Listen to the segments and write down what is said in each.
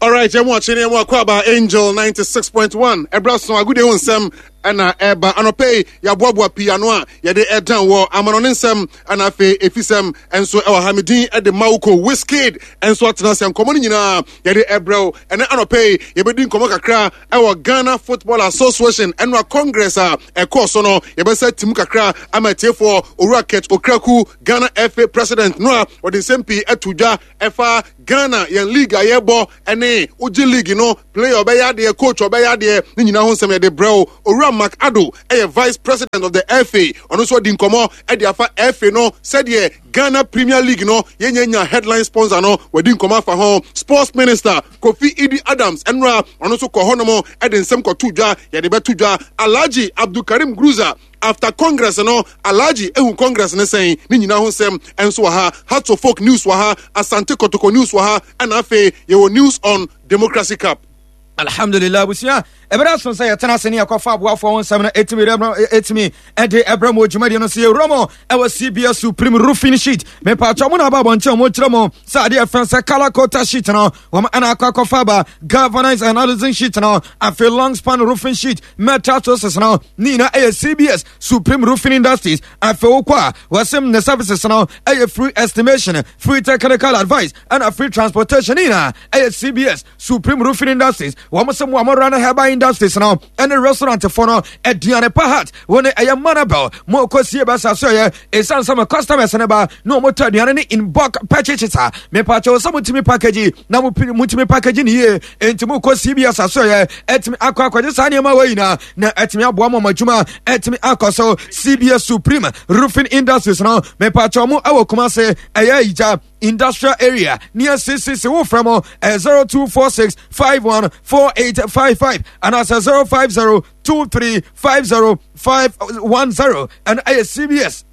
Alright, yɛn mu akye ne yɛn mu akɔ aba Angel 96.1 ɛbra so agodie ho nsɛm ɛna ɛba anɔpɛ yi yɛaboaboa pii ano a yɛde ɛdan wɔ amanɔne nsɛm ɛna afei efisɛm ɛnso ɛwɔ ha medin ɛde Mawuko Wizkid ɛnso atena ase nkɔmɔ no nyinaa yɛde ɛbrɛw ɛnɛ anɔpɛ yi yɛbɛdi nkɔmɔ kakra ɛwɔ Ghana Football Association ɛnoa Congress a ɛkɔɔ so no yɛbɛsɛ tim kakra ama atiefoɔ Owura Kurt Okraku Ghana FA President no a wɔde nsɛm pii ɛto dwa ɛfa Ghana yɛn league a yɛbɔ ɛne wogye league no player ɔbɛyɛ adeɛ coach ɔbɛyɛ adeɛ ne nyinaa ho nsɛm yɛde brɛ wo. Owura Mark Addo ɛyɛ vice president of the FA ɔno nso ɔdi nkɔmɔ ɛde afa FA no sɛdeɛ Ghana Premier League no yɛnya nya headline sponsor no wadi nkɔmɔ afa ho. Sports Minister Kofi Idi Adams ɛnora ɔno nso kɔ hɔnom ɛde nsɛm kɔto dwa yɛde bɛto dwa. Alhaji Abdulkarim Gruza After Congress no, Alhaji ehu Congress ne sɛn? Ne nyinaa ho nsɛm nso wɔ ha. Hearts of Oak news wɔ ha, Asante Kotoko news wɔ ha, ɛna afei yɛwɔ news on Democracy Cup. Alhamdulillah abusua, ɛberɛ aso sɛ yɛtena ase ne yɛkɔfa aboafoɔ ho nsɛm no ɛtumi ɛtumi ɛde ɛbrɛ mu dwumadie no so yɛwura mu ɛwɔ CBS Supreme Roofing Sheet mepatwa mo na aba abɔnten ɔmo kyerɛ mo sɛ adeɛ ɛfɛn sɛ color coated sheet no wɔn ɛna akɔ akɔfa aba galvanized and aluminum sheet no afei long span roofing sheet metal sources no ne nyinaa ɛyɛ CBS Supreme Roofing Industries afei wokɔ a wɔsɛm ne services no ɛyɛ free estimation free technical advice ɛna free transportation ne nyinaa ɛyɛ CBS Supreme Roofing Industries wɔn sɛ mo a mo run herbal industries no ɛne restaurant fo no aduane pa hat wɔn ɛyɛ manabel mo kɔ sie bɛsa so ɛyɛ ɛsiane sɛ mo customers no ba na wɔn tɔ aduane ne in bulk purchases a mepaakyɛw sɛ motumi package na motumi package ne yie enti mo kɔ CBS aso ɛyɛ ɛtumi akɔ akɔgye saa nneɛma wɔ nyinaa na ɛtumi aboa mo adwuma ɛtumi akɔ so CBS Supreme Roofing Industries no mepaakyɛw mo ɛwɔ Kumase ɛyɛ ayigya Industrial Area near CCC wo frɛ mo 0246 51 4855 anaasɛ 050 23 50 510 ɛno ɛyɛ CBS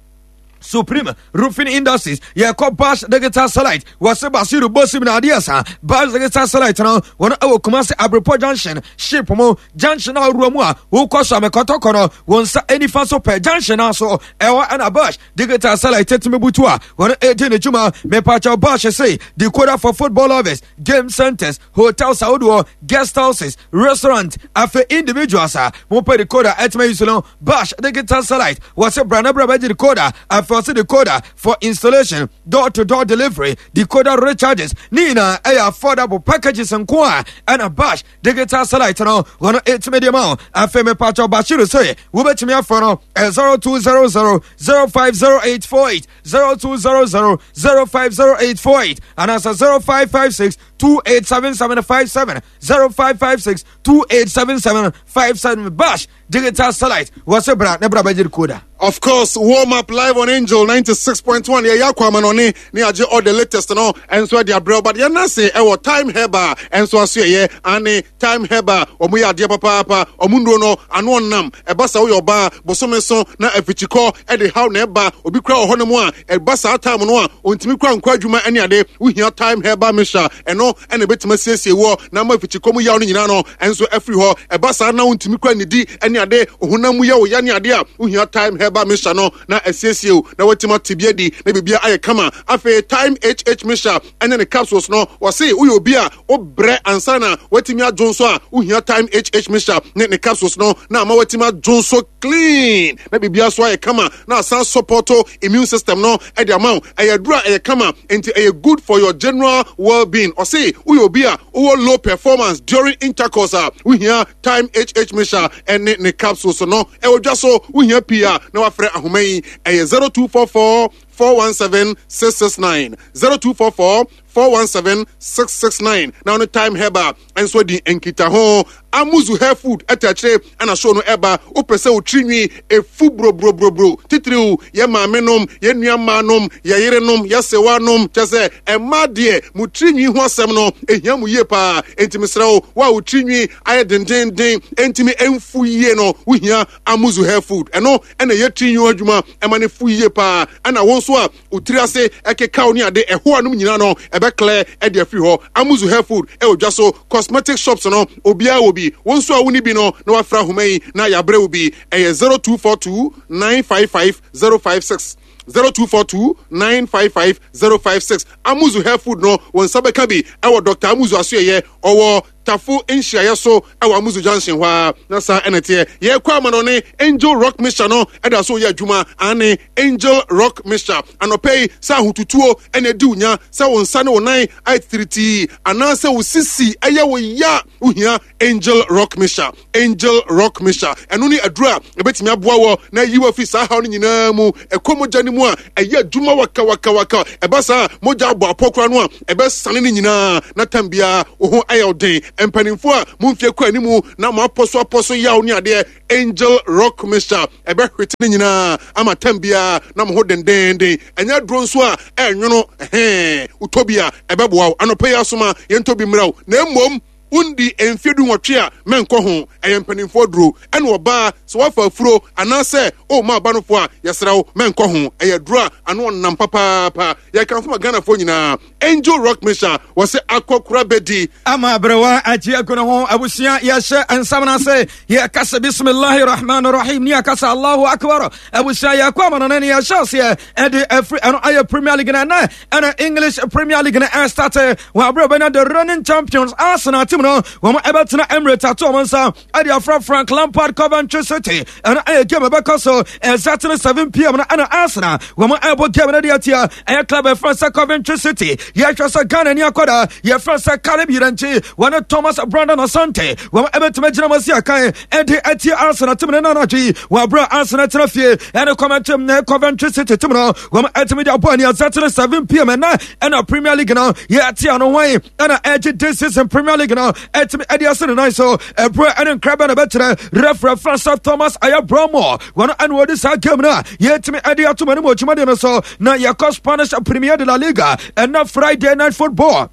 Supreme Roofing Industries yɛkɔ Bash Digital Satellite wɔse Basiru Bosim na adeɛ sa Bash Digital Satellite no wɔn ɛwɔ Kumasi Abrepɔ Junction ship mu junction a wowura mu a wokɔ so amekɔtɔkɔ no wɔn nsa nifa so pɛ junction no so ɛwɔ ɛna Bash Digital Satellite tumi butu a wɔn ɛdi ne dwuma mepakyɛw Bash se decoder for football lovers game centers hotels ahodoɔ guest houses restaurant afei individuals a mopɛ decoder ɛtumi yi so no Bash digital satellite wɔse bra na bra bɛgye decoder afei ɔse decoder for installation door to door delivery decoder recharges ne nyinaa ɛyɛ affordable packages nko a ɛna Bash digital satellite no wɔn ɛtumi de ma wo afei mepakyɛw Bashiru sɛ wobɛtumi afrɛ no 0200 050848 0200 050848 anaasɛ 0556 287757 0556 287757 Bash Digital Satellite wɔ se bra ne bra bɛgye decoder. Of course, warm up live on Angel 96.1. Yeah, yeah, kwama no ne ne agye all the latest no. And so the abrel but yeah, nase ewo time heba and so aso ye ane time heba omo ya ade papa papa omo nduro no ano onnam eba sa wo yoba bosome so na afichikọ e de how na eba obi kura wo ho no a eba saa time no a ontimi kura nkɔ adwuma ene ade wo hia time heba mixture eno ɛna ebetumi asiesie woɔ na ama afikyikɔ mu yaw no nyinaa no nso afiri hɔ. Ɛba saa na wontumi kura nnidi ne ade, honam mu yɛ wo ya ne ade a, wohia Thyme Herbal Mixture no na asiesie wo na woatumi ate bi adi na biribiara ayɛ kama. Afei Thyme HH Mixture ne ne capsules no, wɔse woyɛ obi a wobrɛ ansa na woatumi adwo nso a, wohia Thyme HH Mixture ne ne capsules no na ama woatumi adwo nso clean na biribiara so ayɛ kama na asan support immune system no de ama wo. Ɛyɛ aduru a ɛyɛ kama nti ɛyɛ good for your general well being. Ɔse woyɛ obi a wowɔ low performance during intercourse a, wohia Time HH Mixture ne ne capsules no. Ɛwɔ dwa so, wohia pii a na wafrɛ ahoma yi. Ɛyɛ 0244 417 669, 0244 417 669 na ɔne Time Herbal nso adi nkitaho. Amuzu Hair Food ɛta akyire ɛna show no ɛba. Wopɛ sɛ wo tiri nwi efu brobrobro titiriw yɛ maame nom, yɛ nua mmaa nom, yɛ yere nom, yɛ sewa nom, kyɛ sɛ ɛmmaa deɛ mo tiri nwi ho asɛm no ehia mo yie paa. Enti mesrɛ wo, wo a wo tiri nwi ayɛ dendenden ɛntumi ɛnfu yie no, wohia Amuzu Hair Food. Ɛno ɛna ɛyɛ tiri nwi ho adwuma ɛma no fu yie paa. Ɛna wo nso a wo tiri ase ɛkekaw ne ade ɛho anom nyinaa no ɛbɛklɛ ɛde afiri hɔ. Amuzu Hair Food ɛwɔ dwa so, cosmetic shops no obiara wɔ bi. Wo nso a wonni bi no na wafra ahoma yi na yɛabrɛ wo bi. Ɛyɛ 0242 955 056. 0242 955 056. Amuzu hair food no, wɔn nsa bɛka bi ɛwɔ Dr. Amuzu asoɛyɛ ɔwɔ Tafo nhyiaeɛ so ɛwɔ Amuzu Junction hɔ a. Na saa ɛna teɛ. Yɛkɔ amanɔne, Angel Rock Mixture no ɛda so yɛ adwuma. Ane Angel Rock Mixture anɔpɛ yi, sɛ ahotutuo ɛna ɛdi wo nya, sɛ wo nsa ne wo nan ayɛ titiritii, anaasɛ wo sisi ɛyɛ wo ya, wohia Angel Rock Mixture. Angel Rock Mixture ɛno ne aduro a ɛbɛtumi aboa wɔ na ayi wɔ afi saa haw no nyinaa mu. Ɛkɔ mogya no mu a, ɛyɛ adwuma wakawakawaka. Ɛba saa, mogya abɔ apɔ koraa no a, ɛbɛsane no nyinaa na tam biara wo ho ayɛ wo den. Mpanimfoɔ a mo mfie kɔ animu na mo apɔ so apɔ so yaw ne adeɛ, Angel Rock Mixture ɛbɛhwete no nyinaa ama tam biara na mo ho dendenden. Ɛnyɛ aduro nso a ɛnwono, ɛhɛn, wotɔ bi a ɛbɛboa wo. Anɔpa yi asoma yɛntɔ bi mmerɛ wo, na mmom wondi mfeɛ 18 a, mɛnkɔ ho. Ɛyɛ mpanimfoɔ aduro. Ɛna ɔbaa, sɛ woafa afuro anaasɛ woma aba no fo a, yɛsrɛ wo, mɛnkɔ ho. Ɛyɛ aduro a ano ɔnam papaapa. Yɛkamfo ma Ghanafoɔ nyinaa. Angel Rock Mixture, wɔsɛ akɔkora bɛdi. Ama aberewa agye agu ne ho. Abusua, yɛhyɛ nsɛm no ase. Yɛka sɛ bismillahi rahman rahim ne yɛka sɛ Allahu akbar. Abusua, yɛkɔ amanɔne ne yɛhyɛ aseɛ ɛde afiri ɛno ayɛ Premier League no ɛnɛ. Ɛna English Premier League no ɛstate wɔ abere bɛnya the reigning champions Arsenal team no, wɔn ɛbɛtena Emirates ato wɔn nsa ɛde afra Frank Lampard Coventry City. Ɛno ɛyɛ game ɛbɛkɔ so exactly 7 p.m. no, ɛna Arsenal wɔn ɛbɔ game no de atia ɛyɛ club ɛfrɛ sɛ Coventry City. Yɛhwɛ sɛ Ghana ni akɔda yɛfrɛ sɛ Caleb Yirenkyi, wɔne Thomas Brandon Asante, wɔn ɛbɛtumi agyina mu asi akan ɛde atia Arsenal team no nanadwe yi wɔ abere Arsenal tena fie ɛne Coventry City team no, wɔn ɛtumi de abɔ ani exactly 7 p.m. Ɛnɛ ɛna Premier League no yɛte ano hwan ɛna ɛgye this season Premier League no ɛtumi ɛde ase ne nan so. Ɛberɛ ɛne nkra bɛ na bɛkyerɛ referee Francis Thomas ɛyɛ Bromo, wɔn ɛna wɔde saa game no a yɛtumi ɛde ato mu anim wɔ dwumadie no so. Na yɛkɔ Spanish Premier de la Liga, ɛnɛ Friday night football,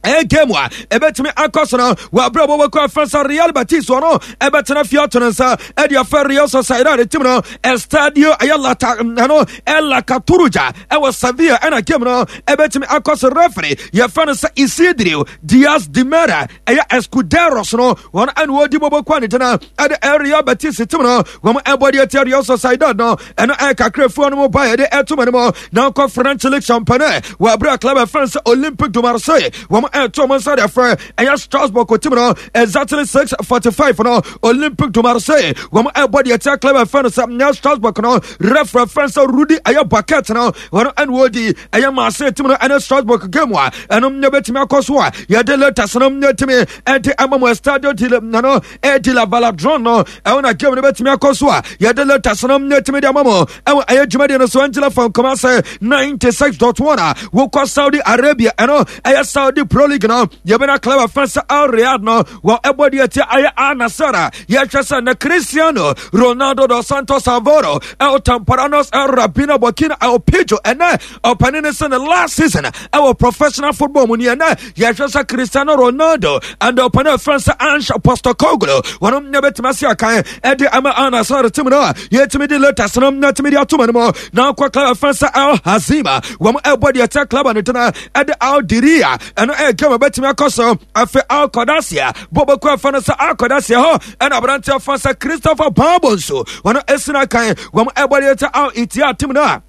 ɛyɛ game a ɛbɛtumi akɔ so no wɔ aberɛ a wɔbɛkɔ afɛ sɛ Real Betis wɔ no ɛbɛtena fie ato no nsa ɛde afɛ Real Sociedad team no. Estadio ɛyɛ Lata ɛno ɛla Cartuja ɛwɔ Sevilla ɛna game no ɛbɛtumi akɔ so. Referee yɛfɛ no sɛ Isidro Diaz de Mera ɛyɛ Escuderos no, wɔn ɛna wɔdi bɔbɔ kɔ ne gyina ɛde Real Betis team no, wɔn ɛbɔ deɛ tia Real Sociedad no. Ɛno ɛkakrafoɔ no mu ba yɛde ɛto mu no na nkɔ French League Championnat wɔ abere a club ɛfɛn sɛ Olympique de Marseille wɔn ɛto wɔn nsa de afrɛ ɛyɛ Strasbourg team no. Exactly 6:45 no, Olympique de Marseille wɔn ɛbɔ deɛ tia club ɛfɛn sɛ nyɛ Strasbourg no. Referee fɛn sɛ Rudy ɛyɛ Bucket no, wɔn ɛna wɔdi ɛyɛ Marseille team no ɛne Strasbourg game a ɛnom nyɛ bɛtumi akɔ so a yɛde latest no nyɛ tumi ɛde ama mu. Estadio de no ɛdi la Valadron no, ɛwɔ na game no bɛtumi akɔ so a yɛde latest no nyɛ tumi de ama mu ɛwɔ ɛyɛ dwumadie no so. Angela from Kumase 96.1 a wokɔ Saudi Arabia, ɛno ɛyɛ Saudi Pro League no, yɛbɛna club afɛn sɛ Al Riyadh no wɔ ɛbɔ deɛ tia ɛyɛ Al Nassr a yɛhwɛ sɛ na Cristiano Ronaldo dos Santos Alvaro El Tamparanos El Rabino Burkina El Pijo, ɛnɛ ɔpanin ne sɛ ne last season ɛwɔ professional football mu ni. Ɛnɛ yɛhwɛ sɛ Cristiano Ronaldo and ɔpanin afɛn sɛ Ange Postecoglou, wɔn nyɛ bɛtumi ase akan ɛde ama Al Nassr team no a yɛtumi de latest no na tumi de ato mu no. Na akɔ club afɛn sɛ Al Hazima, wɔn ɛbɔ deɛ tia club no tena ɛde Al Diria, ɛno ɛyɛ game a bɛtumi akɔ so. Afei Al Qadasiya bɔbɔkɔ afa no sɛ Al Qadasiya hɔ ɛna aberanteɛ afa sɛ Christopher Babo nso wɔn ɛsina kan, wɔn ɛbɔ deɛ tia Al Ittihad team no a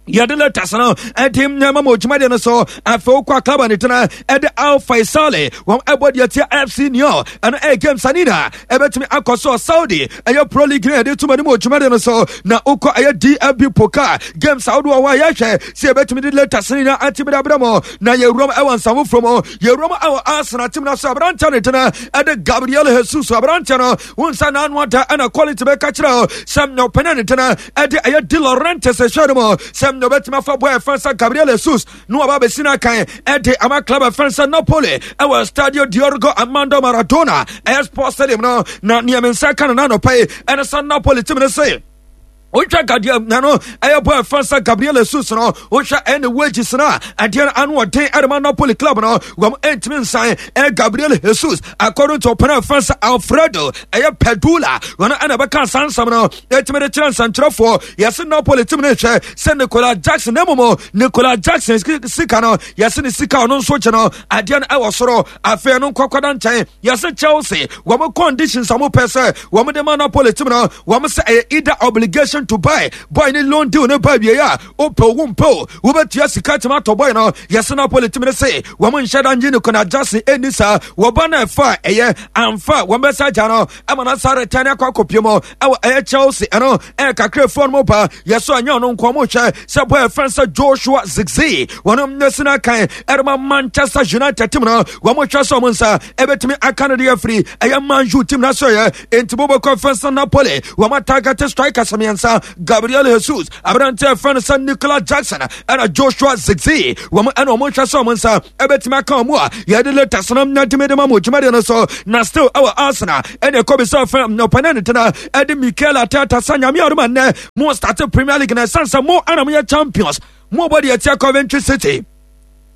yɛde letters no ɛde nneɛma ma odwumadeɛ no so. Afei wokɔ aklaba ne tena ɛde Al Faisale, wɔn ɛbɔ deɛ tia FC Neo, ɛno ɛyɛ game sanina ɛbɛtumi akɔ so. Saudi ɛyɛ Pro League no yɛde tuma no mu odwumadeɛ no so. Na wokɔ ɛyɛ DFB Pokal games ahodoɔ hɔ a yɛhwɛ sɛ yɛbɛtumi de letters no nyinaa ate bere mu. Na yɛwuram ɛwɔ nsa foforɔ mu, yɛwuram ɛwɔ Arsenal team no so, aberanteɛ ne tena ɛde Gabriel Jesus. Aberanteɛ no wo nsa n'ano ada ɛna quality bɛka kyerɛ sɛ ɔpɛne ne tena ɛde ɛyɛ De Laurentiis hwɛ no mu sɛ ɔbɛtumi afa bɔ ɛfɛn sɛ Gabriel Jesus na waba abɛsi no akan ɛde ama club ɛfɛn sɛ Napoli ɛwɔ Stadio Diego Armando Maradona ɛyɛ sports stadium no. Na nea me nsa ka no n'anɔpa yi ɛne sɛ Napoli team no se wohwɛ gadeɛ na no ɛyɛ bɔ ɛfɛn sɛ Gabriel Jesus no, wohwɛ ɛne wages no a adeɛ no ano ɔden ɛde ma Napoli club no, wɔn ɛntumi nsan ɛyɛ Gabriel Jesus. According to ɔpɛn ɛfɛn sɛ Alfredo ɛyɛ Pedula, wɔn ɛna ɛbɛka asansam no ɛtumi de kyerɛ nsɛnkyerɛfoɔ. Yɛse Napoli team no hwɛ sɛ Nicola Jackson, na mmom Nicola Jackson sika no, yɛse ne sika ɔno nso gye no adeɛ no ɛwɔ soro. Afei no nkɔkɔda nkyɛn, yɛse Chelsea wɔn conditions a wɔpɛ sɛ wɔn de ma Napoli team no, wɔn sɛ ɛyɛ either obligation. option to buy boy ne loan deal ne ba wie a, wopɛ wo mpɛ o, wobɛtua sika tumi atɔ boy no. Yɛsɛ Napoli team ne se wɔn nhyɛ da ngye Nicolas Jackson ɛnni saa. Wɔba no ɛfa a ɛyɛ amfa wɔn bɛsa agya no ɛma no asa return akɔ akɔpie mu ɛwɔ ɛyɛ Chelsea. Ɛno ɛyɛ kakra efuo no mu ba. Yɛsɛ ɛnyɛ ɔno nko, ɔmo hwɛ sɛ boy ɛfɛn sɛ Joshua Zirkzee wɔn nyɛsi no akan ɛrema Manchester United team no, wɔn hwɛ sɛ ɔmo nsa ɛbɛtumi aka no de afiri ɛyɛ Man U team no so. Yɛ enti bobɛkɔ ɛfɛn sɛ Napoli wɔn atarget strikers mmiɛnsa, Gabriel Jesus, aberante ɛfɛn sɛ Nicolas Jackson ɛna Joshua Zirkzee. Wɔn ɛna wɔn hwɛ sɛ wɔn nsa ɛbɛtumi aka wɔn a yɛde latest no na dimi de ma mo dwumadie no so. Na still ɛwɔ Arsenal, ɛna ɛkɔ bi sɛ ɔfɛn ɔpɛnɛ ne tena ɛde Mikel Arteta sɛ Nyame adom nnɛ mo start Premier League na ɛsan sɛ mo ɛna mo yɛ champions, mo bɔ deɛ ɛtia Coventry City.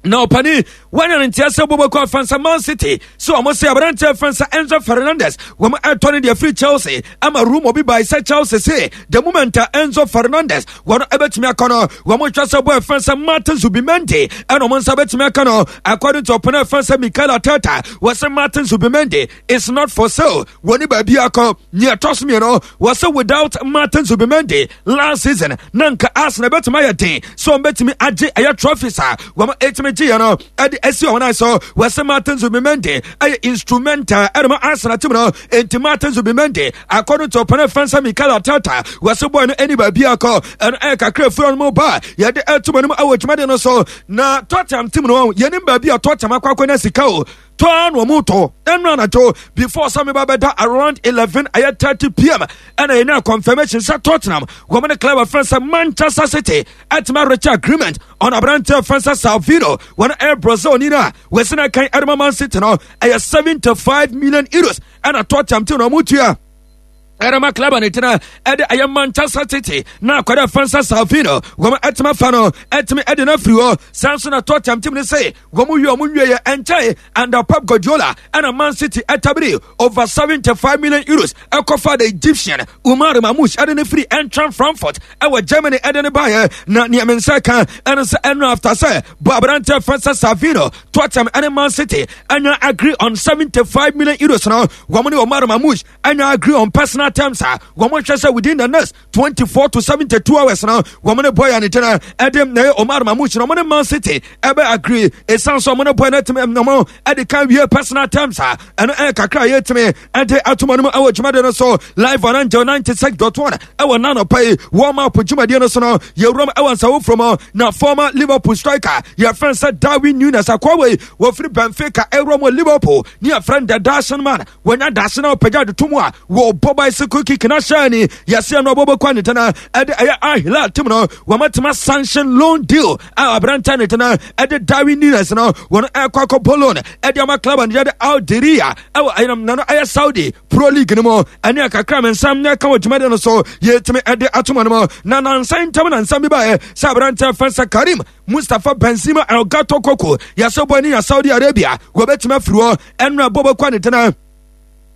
Na ɔpani wanya ne nteɛ sɛ bobɔkɔ afansa Man City sɛ ɔmo sɛ aberanteɛ afansa Enzo Fernandez wɔn ɛtɔ ne deɛ firi Chelsea ama rumour bi bae sɛ Chelsea se the moment a Enzo Fernandez wɔn ɛbɛtumi akɔ no, wɔn hwɛ sɛ bɔ afansa Martin Zubimendi ɛna ɔmo nsa bɛtumi aka no. According to ɔpani afansa Mikel Arteta, wɔsɛ Martin Zubimendi is not for sale, wɔne baabi akɔ. Nea ɛtɔ so mmienu, wɔsɛ without Martin Zubimendi last season na nka Arsenal bɛtumi ayɛ den sɛ wɔn bɛtumi agye ɛyɛ trophies a wɔn ɛtumi gye yɛ no ɛde asi wɔn nan so. Wɔsɛ Martin Zubimendi ɛyɛ instrumental ɛde ma Arsenal team no. Enti Martin Zubimendi, according to ɔpɛnɛ fɛnsa Mikel Arteta, wɔsɛ boy no ɛni baabi akɔ. Ɛno ɛyɛ kakra efura no mu ba yɛde ɛto mu anim ɛwɔ dwumadie no so. Na Tottenham team no, yɛnim baabi a Tottenham akɔ akɔnya sika o, tɔa na ɔmo tɔ. Ɛnu anadwo before sɛ meba bɛda around 11 ɛyɛ 30 pm ɛna yɛnya confirmation sɛ Tottenham wɔn ne club afɛn sɛ Manchester City ɛtumi arekyɛ agreement on aberanteɛ afɛn sɛ Savinho. Wɔn ɛyɛ Brazil ni no a wɔsi na kan ɛde ma Man City no, ɛyɛ €75 million ɛna Tottenham ti na ɔmo tua ɛrɛma club ne tena ɛde ɛyɛ Manchester City. Na akɔda fansa Savinho wɔn ɛtumi afa no, ɛtumi ɛde no afiri hɔ. San so na Tottenham team ne sɛ wɔn wie wɔn nwie yɛ ɛnkyɛn under Pep Guardiola ɛna Man City ɛtabiri over €75 million ɛkɔfa the Egyptian Umar Marmoush ɛde ne firi Eintracht Frankfurt ɛwɔ Germany ɛde ne baayɛ. Na nea me nsa ka ɛno sɛ ɛno after sɛ bɔ aberante fansa Savinho, Tottenham ɛne Man City ɛnya agree on €75 million no, wɔn ne Umar Marmoush ɛnya agree on personal terms a wɔn hwɛ sɛ within the next 24 to 72 hours no, wɔn ne boy ne gyina ɛde na ɛyɛ Omar Marmoush no, wɔn ne Man City ɛbɛ agree. Ɛsiane sɛ wɔn ne boy no atumi wɔn ɛde kan wie personal terms a, ɛno ɛyɛ kakra a yɛtumi ɛde atoma no mu ɛwɔ dwumadie no so live on Angel 96.1 ɛwɔ nanɔpa yi warm up dwumadie no so no. Yɛwuram ɛwɔ nsawoforɔ mu na former Liverpool striker yɛfrɛ sɛ Darwin Nunez, akoa wei wɔfiri Benfica ɛwura mu Liverpool ne yɛfrɛ no the Dashing Man. Wɔnya dase na ɔpagya de to mu a wɔbɔ bicycle kick na hyɛ ni yɛseɛ no ɔbɔbɔkɔ ne tena ɛde ɛyɛ Al Hilal team no. Wɔmatema sanction loan deal a aberantɛ ne tena ɛde Darwin Nunez no, wɔn ɛkɔ akɔbɔ loan ɛde ama club no yɛde Al Deria ɛwɔ ɛyɛnam nano ɛyɛ Saudi Pro League no mu. Ɛne akakra me nsɛm na ɛka wɔ dwumadi no so yɛtumi ɛde atoma no mu. Na nansa ntam na nsɛm bi baeɛ sɛ aberantɛ fɛn sɛ Karim Mustapha Benzema El Gato Koko, yɛsɛ bɔ ne nya Saudi Arabia, wɔbɛtumi afiri hɔ. Ɛno ɛbɔ bɛkɔ ne tena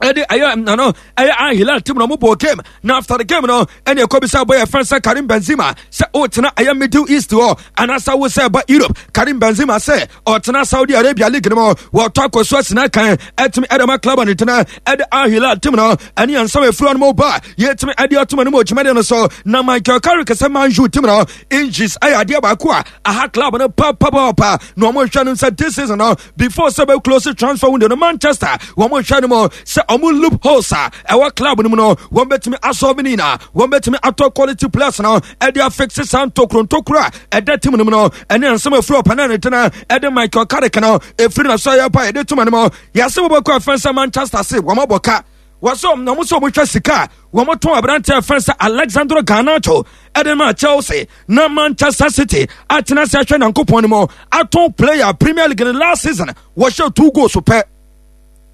ɛde ɛyɛ nano ɛyɛ Al Hilal team na ɔmo bɔ game. Na after the game no, ɛne ɛkɔ bisa bɔ yɛ fɛn sɛ Karim Benzema sɛ ɔtena ɛyɛ Middle East hɔ anaasɛ wo sɛ ɛba Europe. Karim Benzema sɛ ɔtena Saudi Arabia league no mu, wɔtɔ akɔso asina kan ɛtumi ɛde ma club ne tena ɛde Al Hilal team no. Ɛne yɛn nsɛm efiri ɔno mu ba yɛtumi ɛde ɔtoma no mu dwumadie no so. Na Michael Carrick sɛ Man U team no injuries ɛyɛ adeɛ baako a aha club no papapapa, na wɔn hwɛ no sɛ this season no, before sɛ bɛ close transfer window no, Manchester wɔn hwɛ no mu sɛ wɔn loopholes a ɛwɔ club no mu no, wɔn bɛtumi asɔlve ne nyinaa, wɔn bɛtumi atɔ quality players no ɛde afixe saa ntokuro ntokuro a ɛda team no mu no. Ɛne nsɛm efiri ɔpɛnɛ ne tena ɛde Michael Carrick no efiri na so ayɛ pa yɛde tuma no mu. Yɛsɛ wɔbɛkɔ afɛn sɛ Manchester se wɔn abɔ ka wɔsɛ wɔn sɛ wɔn hwɛ sika a wɔn tɔn aberante afɛn sɛ Alexandro Garnacho ɛde ma Chelsea, na Manchester City atena sɛ ahwɛ Nyankopɔn no mu atɔn player Premier League no last season wɔhyɛ two goals pɛ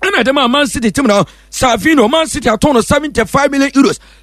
ɛna ɛde ma Man City team no. Savinho, Man City atɔn no €75 million.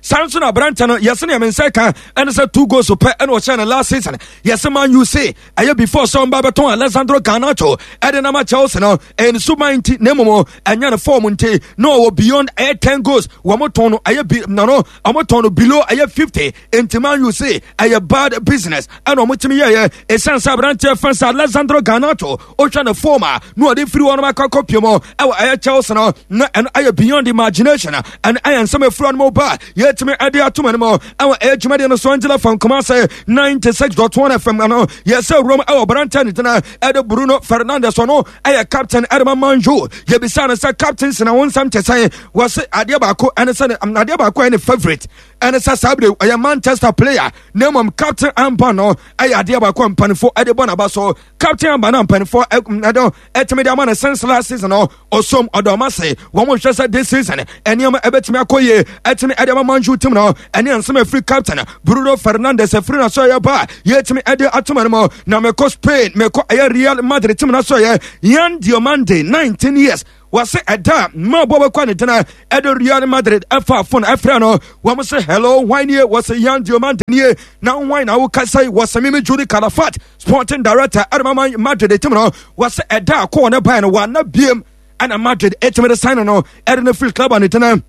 Saa nso na aberante no yɛsɛ nea me nsa ka ɛne sɛ two goals pɛ ɛna ɔhyɛ no last season. Yɛsɛ Man U say ɛyɛ before sɛ ɔmba bɛtɔn Alessandro Garnacho ɛde nama Chelsea no, ɛyɛ ne suban nti na mmom ɛnyɛ ne form nti, na ɔwɔ beyond ɛyɛ 10 goals. Wɔn tɔn no ɛyɛ bi na no wɔn tɔn no below ɛyɛ 50. Nti Man U say ɛyɛ bad business ɛna wɔn tumi yɛyɛ, ɛsiane sɛ aberanteɛ fɛn sɛ Alessandro Garnacho ɔhwɛ ne form a na ɔde firi wɔn akɔ akɔpie mu ɛwɔ ɛyɛ Chelsea no na ɛno ayɛ beyond imagination. Ɛno ɛyɛ nsɛm efura no mu ba yɛtumi ɛde ato mu no ɛwɔ ɛyɛ dwumadie no so. Angela from Kumasi 96.1 FM no yɛsɛ wuram ɛwɔ aberanteɛ ne tena ɛde Bruno Fernandes, ɔno ɛyɛ captain ɛde ma Man U. Yɛbisa no sɛ captain sena wo nsɛm te sɛn? Wɔse adeɛ baako ɛne sɛ adeɛ baako ɛne favourite ɛne sɛ saa bere ɔyɛ Manchester player, na mmom captain amba no ɛyɛ adeɛ baako a mpanimfoɔ ɛde bɔ n'aba so. Captain amba no mpanimfoɔ ɛde ɛtumi de ama no since last season no, ɔsom ɔdɔm ase. Wɔn hwɛ sɛ this season nneɛma ɛbɛtumi akɔ yie ɛtumi ɛde ama Man U team no. Ɛne nsɛm ɛfiri captain Bruno Fernandes ɛfiri na so ɛyɛ ba yɛtumi ɛde ato no mu. Na mekɔ Spain, mekɔ ɛyɛ Real Madrid team na so ɛyɛ Yan Diomande, 19 years, wɔse ɛda ma bɔ bɛkɔ ne dena ɛde Real Madrid ɛfa phone ɛfrɛ no. Wɔn sɛ, "Hello, hwan nie?" Wɔsɛ, "Yan Diomande nie." "Na hwan na wokasa yi?" Wɔsɛ, "Mimi Juri Calafat, sporting director ɛde ma Madrid team no." Wɔsɛ ɛda a kɔɔ ne ban no wɔana biem ɛna Madrid ɛtumi de sign no ɛde no firi club a ne dena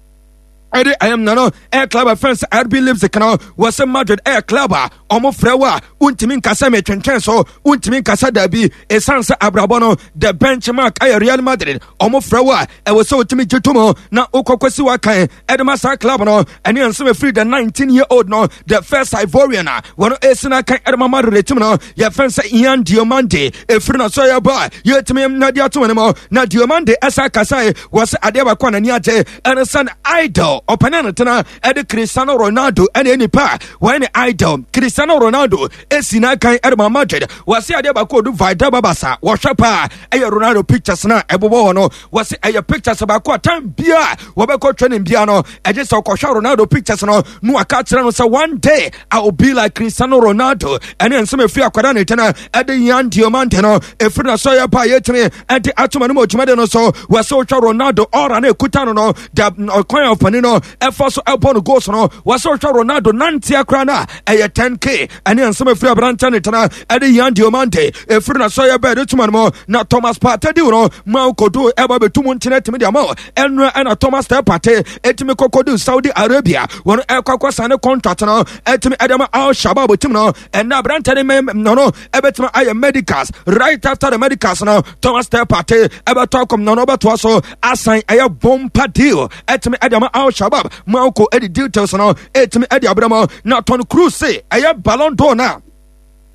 ɛde ɛyɛm na no ɛyɛ club a fɛn sɛ RB Leipzig no. Wɔsɛ Madrid ɛyɛ club a ɔmo frɛ wo a wontumi nkasa metwentwɛn so, wontumi nkasa daabi, ɛsiane sɛ abrabɔ no the benchmark ɛyɛ Real Madrid. Ɔmo frɛ wo a ɛwɔ sɛ wotumi gye to mu na wokɔkɔ si wakan ɛde ma saa club no. Ɛne nsɛm ɛfiri the 19 year old no, the first Ivorian a wɔno ɛsi no akan ɛde ma Madrid team no, yɛfɛn sɛ Ian Diomande, ɛfiri no so yɛ ba yɛtumi na de ato ne mu. Na Diomande ɛsa kasae, wɔ sɛ adeɛ baako a n'ani agye ɛne sɛ idol ɔpɛne no tena ɛde Cristiano Ronaldo, ɛne nipa a wɔyɛ ne idol Cristiano Ronaldo ɛsi n'akan ɛde ma Madrid. Wɔse adeɛ baako odu Valdebebas a wɔhwɛ paa ɛyɛ Ronaldo pictures no a ɛbobɔ hɔ no. Wɔse ɛyɛ pictures baako a time bia wɔbɛkɔ training bia no, ɛgye sɛ ɔkɔhwɛ Ronaldo pictures no na waka kyerɛ no sɛ one day I will be like Cristiano Ronaldo. Ɛne nsɛm ɛfiri akwadaa ne tena ɛde Yan Diomande no ɛfiri na so yɛ pa yɛtumi ɛde atoma no mu dwumadi no so. Wɔsɛ wohwɛ Ronaldo ɔra no ɛkuta no da ɔkwan a ɔfani no ɛfa so ɛbɔ no goals no, wɔsɛ wohwɛ Ronaldo nanteɛ koraa no a ɛyɛ 10K. Ɛne nsɛm ɛfiri aberantɛ ne tena ɛde Yan Diomande ɛfiri na so yɛ bɛɛ de toma no mu. Na Thomas Partey di no ma kodo ɛba bɛtu mu nkyene tumi de ama ɛnora, ɛna Thomas Partey ɛtumi kɔkɔdu Saudi Arabia, wɔn ɛkɔ akɔsa ne contract no ɛtumi ɛde ama Al Shabab team no. Ɛna aberantɛ ne mɛ no ɛbɛtumi ayɛ medicals. Right after the medicals no, Thomas Partey ɛbɛtɔ akɔm na no ɔbɛtoa so asan ɛyɛ bompa deal ɛtumi ɛde ama Al Shabab. Marco ɛde details no ɛtumi ɛde abrɛ mu. Na Toni Kroos se ɛyɛ Ballon d'Or no a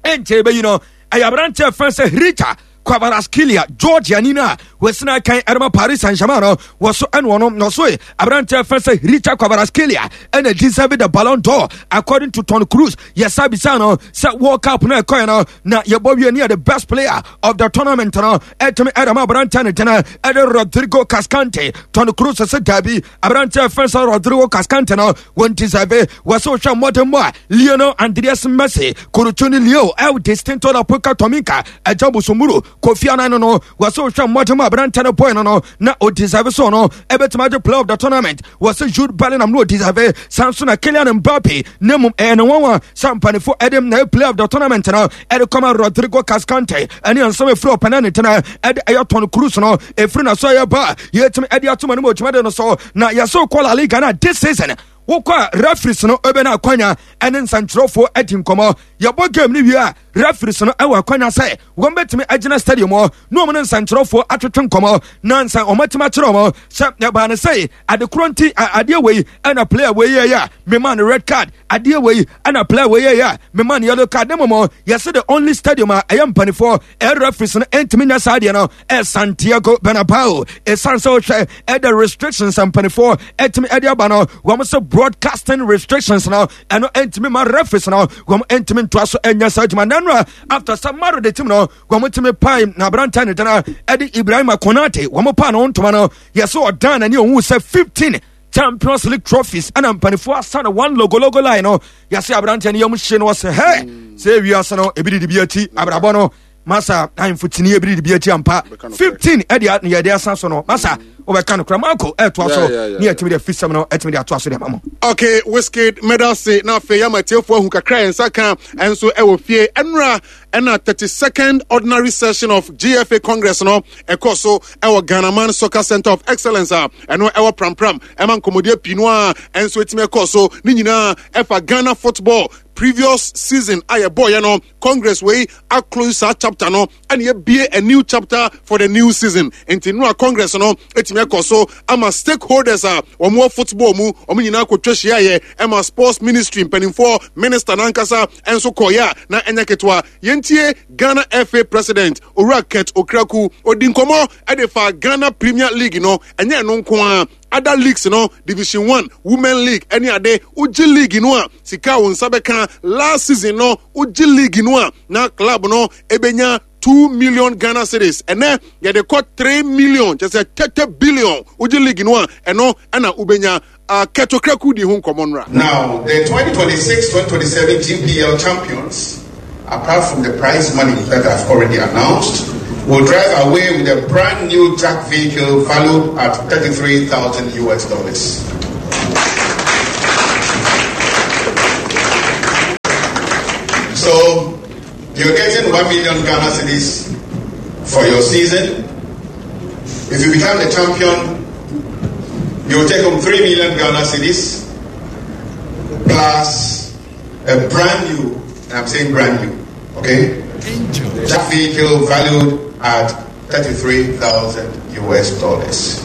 ɛnkyɛ ɛbɛyi no ɛyɛ aberanteɛ fɛn sɛ Khvicha Kvaratskhelia, Georgia ni no a wɔsena kan ɛrema Paris Saint-Germain no. Wɔso ɛne ɔno na ɔso aberanteɛ fɛn sɛ Khvicha Kvaratskhelia ɛna deserve the Ballon d'Or according to Toni Kroos. Yɛsa bisa no sɛ World Cup no ɛkɔɛ no na yɛbɔ wie ne yɛ the best player of the tournament no ɛtumi ɛde ma aberanteɛ ne tena ɛde Rodrigo Cascante. Toni Kroos sɛ daabi, aberanteɛ fɛn sɛ Rodrigo Cascante no wɔn deserve. Wɔsɛ wohwɛ mmɔden mu a Lionel Andreas Messi, Kurucuni Leo El Distinto La Puka Tominka Agya Busumuru Kofi Anan no, wɔsɛ wohwɛ mmɔden mu aberanteɛ no boy no na ɔdeserve so no ɛbɛtumi agye player of the tournament. Wɔsɛ Jude Bellingham no ɔdeserve, san so na Kylian Mbappe, na mmom ɛyɛ ne nwanwa sɛ mpanimfoɔ ɛde na player of the tournament no ɛde kɔma Rodrigo Cascante. Ɛne nsɛm ɛfiri ɔpɛnɛ ne tena ɛde ɛyɛ Toni Kroos no ɛfiri na so ɛyɛ ba yɛtumi ɛde ato ma no mu ɔdwumade no so. Na yɛsɛ wokɔ La Liga no this season, wokɔ a referees no ɛbɛn akwanya ɛne nsɛntwerɛfoɔ adi nkɔmmɔ. Yɛbɔ game no wie a, referees no ɛwɔ akwanya sɛ wɔn bɛtumi agyina stadium hɔ na wɔn ne nsɛntwerɛfoɔ atwetwe nkɔmmɔ na nsa wɔn atumi akyerɛ wɔn sɛ ɛbaa ne sɛ ade korɔ nti adeɛ wei ɛna player wei yɛ a mema no red card, adeɛ wei ɛna player wei yɛ a mema no yellow card. Ne mmom yɛsɛ the only stadium a ɛyɛ mpanimfoɔ ɛyɛ referees no ɛntumi nyɛ saa adeɛ no ɛ Santiago Bernabeu, ɛsiane sɛ wohwɛ ɛda restrictions mpanimfoɔ ɛtumi ɛde aba no, wɔn sɛ broadcasting restrictions no ɛno ɛntumi ma referees no wɔn ɛntumi ntoa so ɛnyɛ saa adwuma. Nanu a after sɛ Maro de team no wɔn tumi pae na aberanteɛ ne dana ɛde Ibrahima Konate, wɔn paa no ntoma no, yɛsɛ ɔdan n'ani ohun sɛ 15 Champions League trophies ɛna mpanimfoɔ asa no one logo logo line no. Yɛsɛ aberanteɛ no yam hye no, ɔsɛ hɛ sɛ ewiase no ebi didi bi akyi abrabɔ no masa ahemfo tini ebi didi bi akyi ampa. 15 ɛde yɛde asa so no masa wobɛka no kora Marco ɛtoa so ne yɛtumi de afisɛm no ɛtumi de atoa so de ama mo. Okay, Wizkid, medase. Na afei ama atiefoɔ ahu kakra yɛn nsa ka ɛnso ɛwɔ fie. Ɛnora ɛna 32nd ordinary session of GFA Congress no ɛkɔ so ɛwɔ Ghana Man Soccer Center of Excellence a ɛno ɛwɔ Prampram. Ɛma nkɔmmɔdeɛ pii no a ɛnso ɛtumi ɛkɔ so ne nyinaa ɛfa Ghana football previous season a yɛbɔɔyɛ no. Congress wei aclose saa chapter no. ɛna yɛbie a new chapter for the new season. Nti no a congress no ɛtumi ɛkɔ so ama stakeholders a wɔn wɔ football mu wɔn nyinaa kɔtwa hyiaeɛ ɛma sports ministry mpanimfoɔ minister nankasa ɛnso kɔeɛ a na ɛnyɛ ketewa. Yɛntie Ghana FA president Owura Kurt Okraku odi nkɔmmɔ ɛde fa Ghana Premier League no ɛnyɛ ɛno nko ara other leagues no Division 1 Women League ɛne ade wogye league no a sika a wo nsa bɛka last season no wogye league no a na club no ɛbɛnya 2 million Ghana cedis ɛnɛ yɛde kɔ 3 million kyɛ sɛ 30 billion wogye league no a ɛno ɛna wobɛnya uh, Kurt Okraku di ho nkɔmmɔ nora. Now, the 2026-2027 GPL champions, apart from the prize money that I've already announced, will drive away with a brand new JAC vehicle valued at 33,000 US dollars. So, you're getting 1 million Ghana cedis for your season. If you become the champion, you'll take home 3 million Ghana cedis plus a brand new, and I'm saying brand new, okay? That vehicle valued at 33,000 US dollars.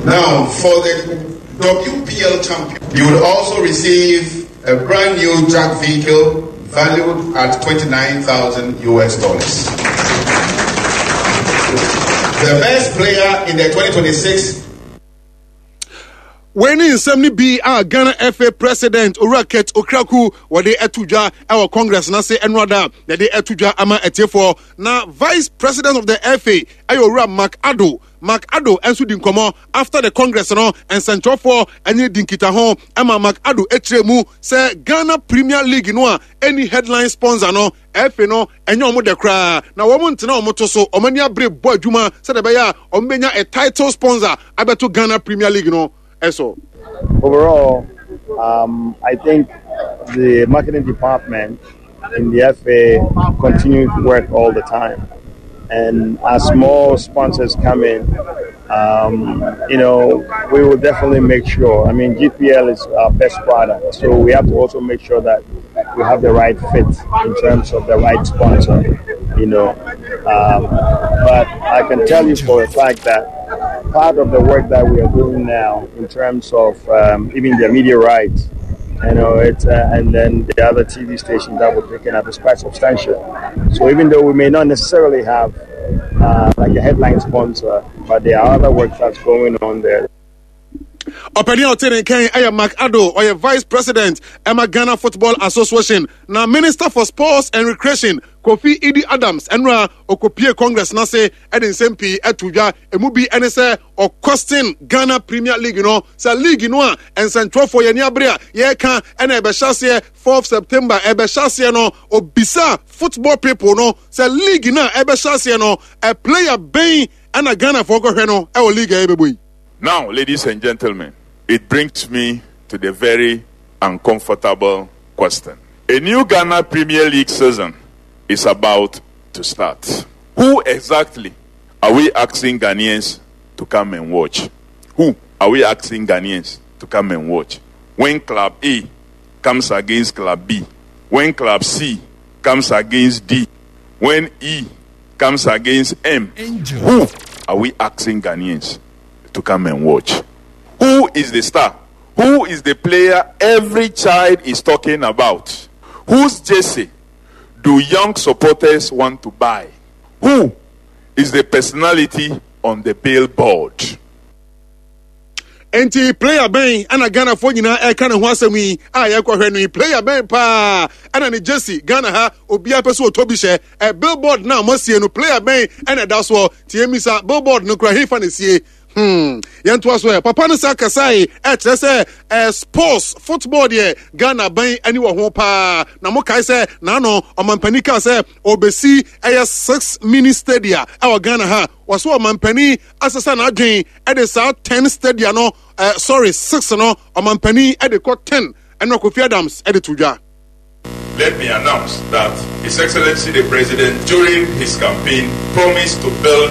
Now, for the WPL champion, you will also receive a brand new JAC vehicle valued at 29,000 US dollars. The best player in the 2026 Wei ne nsɛm no bi a Ghana FA President Owura Kurt Okraku wɔde ato dwa wɔ Congress no ase ɛnoada a yɛde ato dwa ama atiefoɔ. Na Vice President of the FA ɛyɛ Owura Mark Addo. Mark Addo nso di nkɔmmɔ after the Congress no nsɛntwerɛfoɔ ɛne di nkitaho ɛma Mark Addo ɛkyerɛ mu sɛ Ghana Premier League no a ɛni headline sponsor no FA no ɛnyɛ wɔn dɛ koraa na wɔn ntena wɔn to so wɔn ani abere bɔ adwuma sɛdeɛ ɛbɛyɛ a wɔn bɛnya a title sponsor abɛto Ghana Premier League no ɛso. Overall, I think the marketing department in the FA continues to work all the time. And as more sponsors come in, we will definitely make sure. I mean, GPL is our best product, so we have to also make sure that we have the right fit in terms of the right sponsor. But I can tell you for a fact that part of the work that we are doing now in terms of even the media rights, and then the other TV stations that we're picking up is quite substantial. So even though we may not necessarily have a headline sponsor, but there are other work that's going on there. Ɔpanin a ɔte ne nkan ɛyɛ Mark Addo, ɔyɛ Vice President ɛma Ghana Football Association na Minister for Sports and Recreation Kofi Idi Adams ɛnora ɔkɔpie Congress n'ase ɛde nsɛm pii ɛto dwa. Emu bi ɛne sɛ ɔkɔsten Ghana Premier League no sɛ league no a nsɛntwerɛfoɔ yɛn ani abere a yɛreka ɛna ɛbɛhyɛ aseɛ 4 September ɛbɛhyɛ aseɛ no obisa football people no sɛ league no a ɛbɛhyɛ aseɛ no ɛ player bɛn ɛna Ghanafoɔ kɔhwɛ no ɛwɔ league a yɛbɛbɔ yi. Now, ladies and gentlemen, it brings me to the very uncomfortable question. A new Ghana Premier League season is about to start. Who exactly are we asking Ghanaians to come and watch? Who are we asking Ghanaians to come and watch? When Club A comes against Club B, when Club C comes against D, when E comes against M, Angel. Who are we asking Ghanaians to come and watch? Who is the star? Who is the player every child is talking about? Whose jersey do young supporters want to buy? Who is the personality on the billboard? Enti player bɛn ɛna Ghanafoɔ nyinaa ɛka ne ho asɛm yi a yɛkɔhwɛ no yi? Player bɛn paa ɛna ne jersey Ghana ha obiara pɛ sɛ ɔtɔ bi hyɛ? Ɛ billboard no a moasie no player bɛn ɛna ɛda soɔ? Tie misa billboard no kora hefa na sie? Yɛntoa so ɛ. Papa no sa kasae ɛkyerɛ sɛ ɛ sports football deɛ Ghana bɛn ani wɔ ho paa. Na mokae sɛ n'ano ɔmampanin kaa sɛ ɔbɛsi ɛyɛ 6 mini stadia ɛwɔ Ghana ha. Wɔso ɔmampanin asesa n'adwen ɛde saa 10 stadia no sorry 6 no ɔmampanin ɛde kɔ 10 ɛna Kofi Adams ɛde to dwa. Let me announce that His Excellency the President, during his campaign, promised to build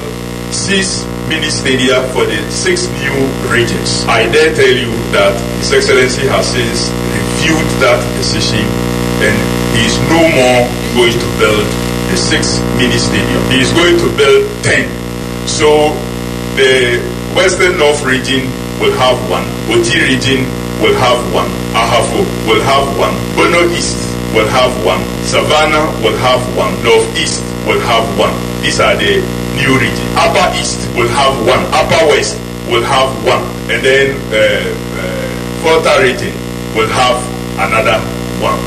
6 mini stadia for the 6 new regions. I dare tell you that His Excellency has since reviewed that decision and he is no more going to build the the six mini stadium. He is going to build 10. So the Western North region will have one, Oti region will have one, Ahafo will have one, Bono East will have one, Savannah will have one, Northeast will have one. These are the new region. Upper East will have one, Upper West will have one, and then uh, uh, Volta region will have another one,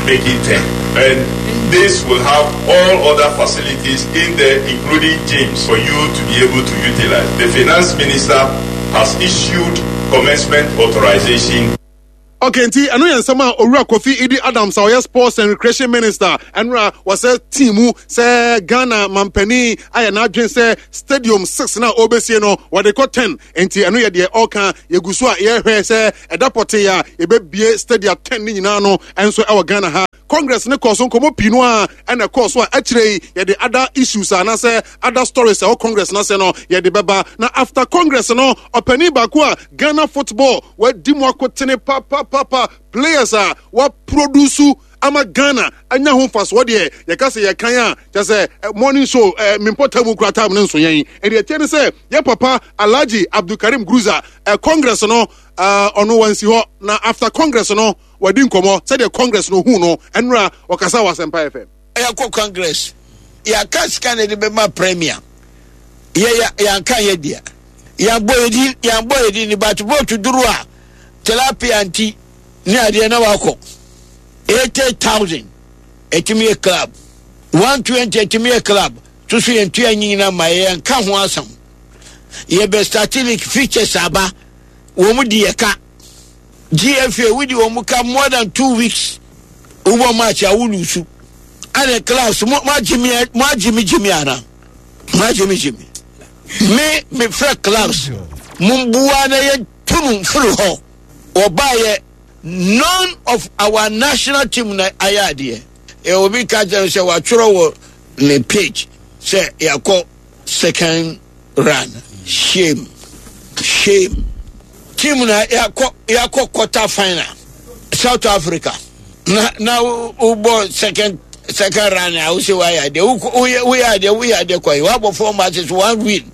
making 10. And this will have all other facilities in there, including gyms, for you to be able to utilize. The finance minister has issued commencement authorization. Okay, nti ɛno yɛ nsɛm a owura Kofi Idi Adams a ɔyɛ Sports and Recreation Minister ɛnora wɔsɛ team mu sɛ Ghana mampanin ayɛ n'adwene sɛ stadium six na ɔbɛsie no wɔde kɔ ten nti ɛno yɛ deɛ ɔka yɛgu so a yɛhwɛ sɛ ɛda pɔtee a yɛbɛbie stadium ten ne nyinaa no ɛnso ɛwɔ Ghana ha. Congress no kɔɔ so nkɔmmɔ pii no a ɛna ɛkɔɔ so a akyire yi yɛde other issues anaasɛ other stories ɛwɔ Congress no ase no yɛde bɛba. Na after Congress no ɔpanin baako a Ghana football wadi mu akotene papapapa players a waproduce ama Ghana anya ho mfasoɔ deɛ yɛka sɛ yɛkan a kyɛ sɛ eh, morning show eh, mempɔta mu kura time no nso yɛn ɛdeɛ ɛteɛ ne sɛ yɛ papa Alhaji Abdulkarim Gruza eh, Congress no eh, ɔno wansi hɔ na after Congress no Wadi nkɔmmɔ sɛdeɛ Congress no huu no nnora ɔkasa wɔ Asɛmpa FM. Yɛakɔ Congress, yɛaka sika na yɛde bɛma Premier, yɛ yɛ yɛanka yɛ dea, yɛabɔ yɛ din yɛabɔ yɛ din but vote duru a tilapia nti ne adeɛ na wakɔ 80,000 ɛtumi yɛ club 120 ɛtumi yɛ club soso yɛntua nyina ma yɛnka ho asɛm yɛbɛ start league features aba wɔn di yɛ ka. GFA wodi wɔn ka more than 2 weeks, wobɔ match a wo lose ɛna clubs mo mo agye mi, mo agye mi gye mi ana mo agye mi gye mi. Me me frɛ clubs mo mbua na yɛ tunu firi hɔ wɔbaayɛ. None of our national team na ayɛ adeɛ. Ɛ obi ka kyerɛ sɛ watwerɛ wɔ ne page sɛ yɛakɔ second run. Shame, shame. Team na yɛakɔ yɛakɔ quarter final South Africa na na wobɔ second round a wosɛ woayɛ adeɛ, woyɛ woyɛ adeɛ, woyɛ adeɛ kwan woabɔ four matches, one win.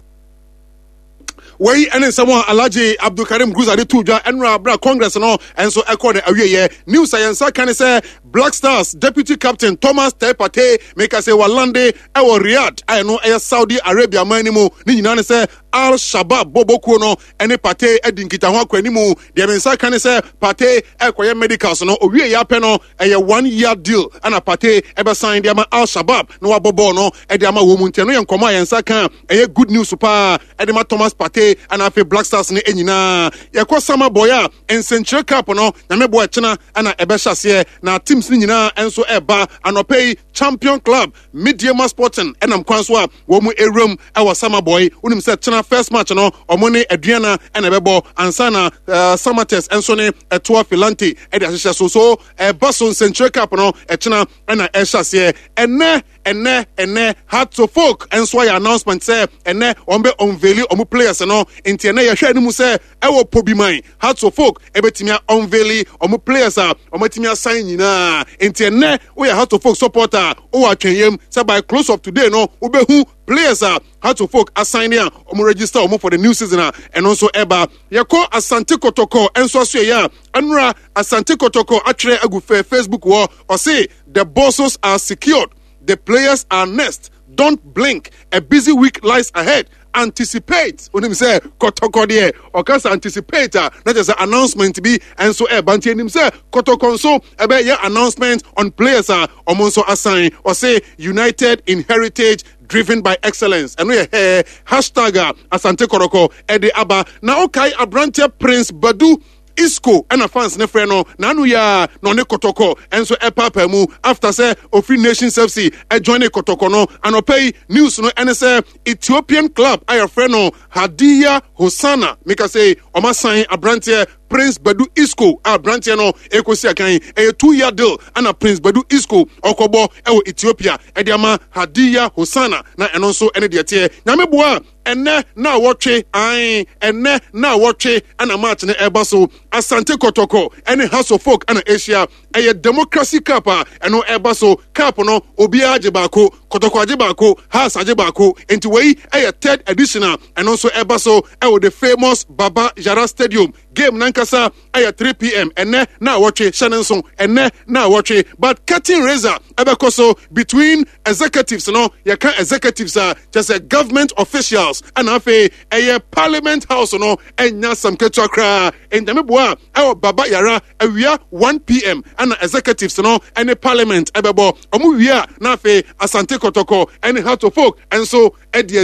Wei ne nsɛm a Alhaji Abdulkarim Gruza de too dwa ɛnora berɛ a Congress no nso ɛkɔɔ no awieɛ. News a yɛn nsa ka ne sɛ Black Stars deputy captain Thomas Teye Partey meka sɛ walande ɛwɔ Riyadh a ɛno ɛyɛ Saudi Arabia man no mu. Ne nyinaa ne sɛ Al Shabab bɔbɔkuo no ɛne Partey adi nkitaho akɔ animu. Deɛ me nsa ka ne sɛ Partey ɛkɔyɛ medicals no owie yɛ apɛ no ɛyɛ 1 year deal ɛna Partey ɛbɛsan de ama Al Shabab na wabɔ bɔɔl no ɛde ama wɔn mu. Nti ɛno yɛ nkɔmɔ a yɛn nsa ka, ɛyɛ good news paa ɛde ma Thomas Partey ɛna afei Black Stars no nyinaa. Yɛkɔ Samreboi a nsɛnkyerɛ cup no nyame boa ɛkyena ɛna ɛbɛhyɛ aseɛ na teams no nyinaa nso ɛba. Anɔpɛ yi champion club Medeama Sporting ɛnam kwan so a wɔn mu ewuram ɛwɔ Samreboi. Wonim sɛ kyena first match no ɔmo ne Aduana ɛna ɛbɛbɔ ansa na Samartex nso ne Ɛtoa Filante ɛde ahyehyɛ so ɛba so. Nsɛnkyerɛ cup no ɛkyena ɛna ɛhyɛ aseɛ. Ɛnɛ Hearts of Oak nso ayɛ announcement sɛ ɛnɛ wɔn bɛ unveil wɔn players no. Nti ɛnɛ yɛhwɛ anim sɛ ɛwɔ Pobiman Hearts of Oak ɛbɛtumi unveil wɔn players a wɔn atumi asan nyinaa. Nti ɛnɛ woyɛ Hearts of Oak supporter, wowɔ atwɛnyɛm sɛ by close of today no wobɛhu players a Hearts of Oak asan ne a wɔn register wɔn for the new season a ɛno nso ɛba. Yɛkɔ Asante Kɔtɔkɔ nso aso yɛ a ɛnora Asante Kɔtɔkɔ atwerɛ agu fɛ Facebook wɔ ɔse, "The bosses are secured, the players are next. Don't blink, a busy week lies ahead. Anticipate." Onim sɛ Kɔtɔkɔ deɛ ɔka sɛ anticipate a na kyerɛ sɛ announcement bi nso ɛba. Nti anim sɛ Kɔtɔkɔ nso ɛbɛyɛ announcement on players a ɔmo nso asan. Ɔse, "United in heritage, driven by excellence." Ɛno yɛ hɛɛ hashtag a Asante Kɔtɔkɔ ɛde aba. Na ɔkae aberanteɛ Prince Badu Isco ɛna fans ne frɛ no n'ano yɛ a na ɔne Kɔtɔkɔ ɛnso ɛpaapaa mu after sɛ ofiri Nations FC ɛjoin ne Kɔtɔkɔ no. Anɔpɛ yi news no ɛne sɛ Ethiopian club a yɛfrɛ no Hadiya Hosana mika sɛ ɔma san aberanteɛ Prince Badu Isco a aberanteɛ no ɛkɔsi akan. Ɛyɛ 2 year deal ɛna Prince Badu Isco ɔkɔbɔ ɛwɔ Ethiopia ɛde ama Hadiya Hosana. Na ɛno nso ɛne deɛ teɛ. Nyame boa, ɛnɛ na wɔtwe ae, ɛnɛ na wɔtwe ɛna match no ɛba so. Asante Kɔtɔkɔ ɛne Hearts of Oak ɛna ahyia. Ɛyɛ Democracy Cup a ɛno ɛba so. Cup no obiara gye baako, Kɔtɔkɔ agye baako, Hearts agye baako. Nti wei ɛyɛ third edition a ɛno nso ɛba so ɛwɔ the famous Baba Yara Stadium. Game nankasa ɛyɛ 3 p.m. ɛnɛ na awɔtwe hyɛ ne nso ɛnɛ na awɔtwe. But curtain raiser ɛbɛkɔ so between executives no. Yɛka executives a, kyɛ sɛ government officials, ɛna afei ɛyɛ Parliament House no. Ɛnya asɛm ketewa koraa. Ntɛmeboa a ɛwɔ Baba Yara awia 1 p.m. ɛna executives no ɛne Parliament ɛbɛbɔ. Ɔmo wie a, na afei Asante Kɔtɔkɔ ɛne Hearts of Oak ɛnso ɛde.